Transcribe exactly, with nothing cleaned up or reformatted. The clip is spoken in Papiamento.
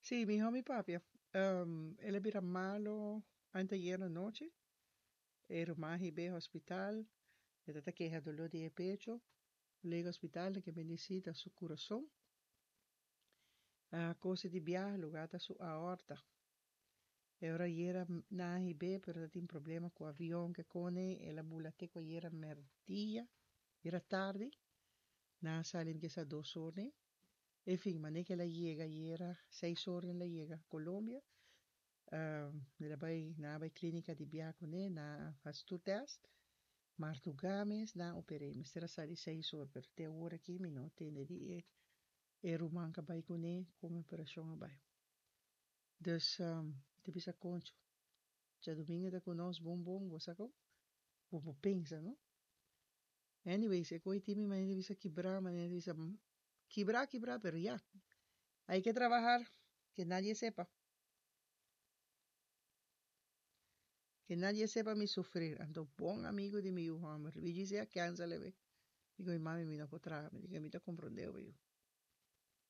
Sí, miho mi papia. Um, el a bira malo anteayer anochi. E ruman hib'é hospital. E ta keha doló di pecho. Lega hospital ke medicina su kurason. A kos di biaha lugá ta su aorta. E ora ayera nan a hib'é, pero tin problema ku avion ke kone el a bula te ku ayera merdia, ayera tardi. Nan a sali kisa dos or ne. En fin, manera ku el a yega ayera seis or el a yega Colombia. Um, el a bai, nan a bai klínika di biaha kuné, nan a hasi tur tèst. Mardugá mes nan a oper'é. Mester a sali seis or, pero te awor aki mi no a tende di e, e ruman ku a bai kuné kon e operashon a bai. Dus, um, ta bisa koncho. Djadumingu ta ku nos bon bon, bo sa kon? Bo por pensa, no? Anyways, e koi tin mi manera di bisa kibrá, manera di bisa kibrá, kibrá, pero ya. Hay que trabajar, que nadie sepa. Que nadie sepa mi sufrir. Anto bon amigu di mi yu hòmber, Luigi sea kènsel e be. Digo, mi mami mi no por traha, mi digo, mi ta komprondé bo yu.